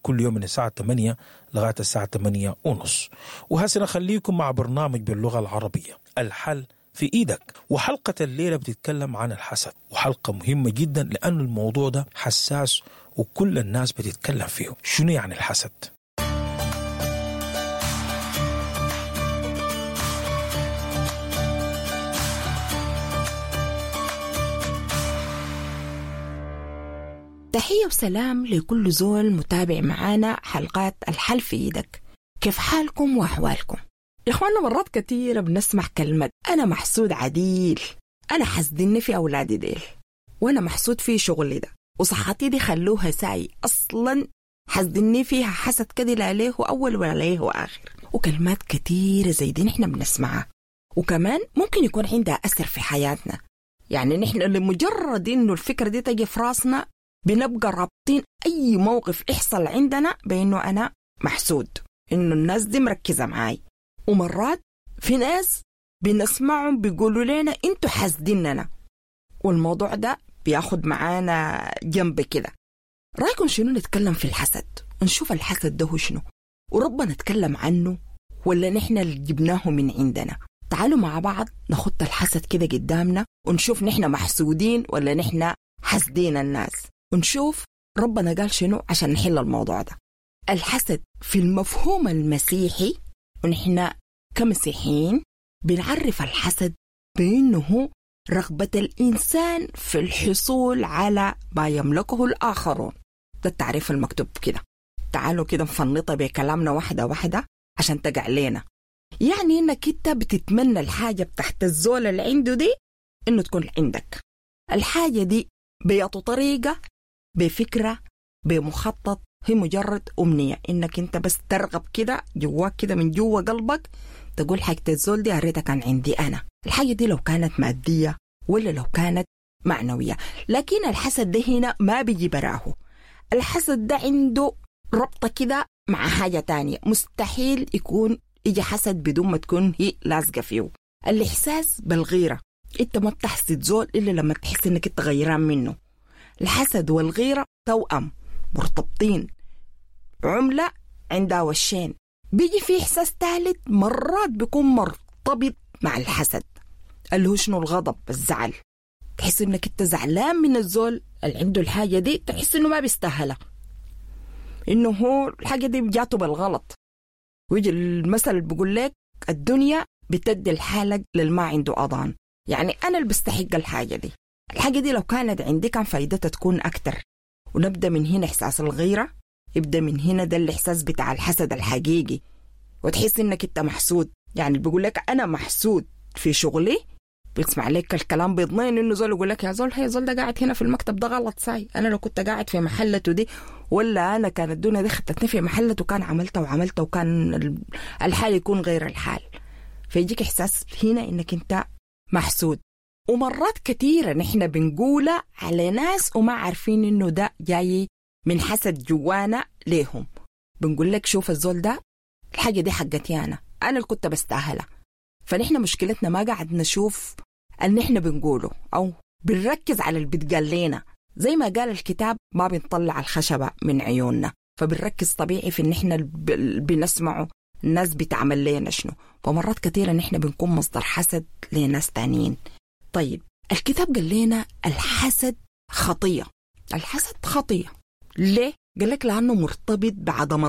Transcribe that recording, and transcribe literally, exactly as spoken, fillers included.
كل يوم من الساعة تمانية لغاية الساعة تمانية ونص. وهسه نخليكم مع برنامج باللغة العربية الحل في إيدك. وحلقة الليلة بتتكلم عن الحسد، وحلقة مهمة جدا لأن الموضوع ده حساس وكل الناس بتتكلم فيه. شنو يعني الحسد؟ تحية وسلام لكل زول متابع معانا حلقات الحل في إيدك. كيف حالكم وأحوالكم؟ يا إخواننا، مرات كثيرة بنسمع كلمة أنا محسود عديل، أنا حسدني في أولادي ديل، وأنا محسود في شغلي ده، وصحتي دي خلوها ساي، أصلا حسدني فيها حسد كده لا ليه أول ولا ليه آخر. وكلمات كثيرة زي دي نحن بنسمعها، وكمان ممكن يكون عندها أثر في حياتنا. يعني نحن لمجرد إنه الفكرة دي تجي في راسنا بنبقى رابطين أي موقف يحصل عندنا بأنه أنا محسود، إنه الناس دي مركزة معاي. ومرات في ناس بنسمعهم بيقولوا لنا انتوا حاسديننا، والموضوع ده بياخد معانا جنب كده. رأيكم شنو نتكلم في الحسد ونشوف الحسد ده هو شنو، وربنا نتكلم عنه ولا نحن اللي جبناه من عندنا؟ تعالوا مع بعض نخط الحسد كده قدامنا ونشوف نحن محسودين ولا نحن حاسدين الناس، ونشوف ربنا قال شنو عشان نحل الموضوع ده. الحسد في المفهوم المسيحي، ونحن كمسيحيين بنعرف الحسد بأنه هو رغبة الإنسان في الحصول على ما يملكه الآخرون. ده التعريف المكتوب كده. تعالوا كده نفنطها بكلامنا واحدة واحدة عشان تقع لنا. يعني إنك أنت بتتمنى الحاجة بتاعت الزول اللي عنده دي إنه تكون عندك. الحاجة دي بيعطوا طريقة، بفكرة، بمخطط، هي مجرد أمنية إنك أنت بس ترغب كده جواك كده من جوا قلبك تقول حاجة الزول دي أريتها كان عندي أنا. الحاجة دي لو كانت مادية ولا لو كانت معنوية. لكن الحسد ده هنا ما بيجي براه، الحسد ده عنده ربطة كده مع حاجة تانية. مستحيل يكون يجي حسد بدون ما تكون هي لازقة فيه. الإحساس بالغيرة، أنت ما بتحسد زول إلا لما تحس إنك أنت غيران منه. الحسد والغيرة توأم مرتبطين، عملة عندها وشين. بيجي في إحساس ثالث مرات بيكون مرتبط مع الحسد، اللي هو شنو؟ الغضب، الزعل. تحس إنك أنت زعلان من الزول اللي عنده الحاجة دي، تحس إنه ما بيستاهلها، إنه هو الحاجة دي جاته بالغلط. ويجي المثل اللي بيقول لك الدنيا بتدي الحالة للما عنده أضان. يعني أنا اللي بستحق الحاجة دي، الحاجة دي لو كانت عندي كان فايدتها تكون أكتر. ونبدأ من هنا إحساس الغيرة، يبدأ من هنا ده الإحساس بتاع الحسد الحقيقي، وتحس إنك أنت محسود. يعني بيقول لك أنا محسود في شغلي، بيسمع لك الكلام بيضنين إنه زول يقول لك يا زول، هي زول ده قاعد هنا في المكتب ده غلط ساي، أنا لو كنت قاعد في محلته دي، ولا أنا كانت الدنيا دي خدتني في محلته كان عملته وعملته وكان الحال يكون غير الحال. فيجيك إحساس هنا إنك أنت محسود. ومرات كثيرة نحن بنقولها على ناس وما عارفين إنه ده جاي من حسد جوانا ليهم. بنقول لك شوف الزول ده الحاجة دي حقتي أنا، أنا اللي كنت بستاهلها. فنحن مشكلتنا ما قاعد نشوف اللي نحن بنقوله أو بنركز على اللي بتقال لنا. زي ما قال الكتاب ما بنطلع الخشبة من عيوننا، فبنركز طبيعي في إن نحن بنسمعه الناس بتعمل لنا شنو. فمرات كثيرة نحن بنكون مصدر حسد لناس تانيين. طيب الكتاب قال لنا الحسد خطية. الحسد خطية ليه؟ قال لك لأنه مرتبط بعدم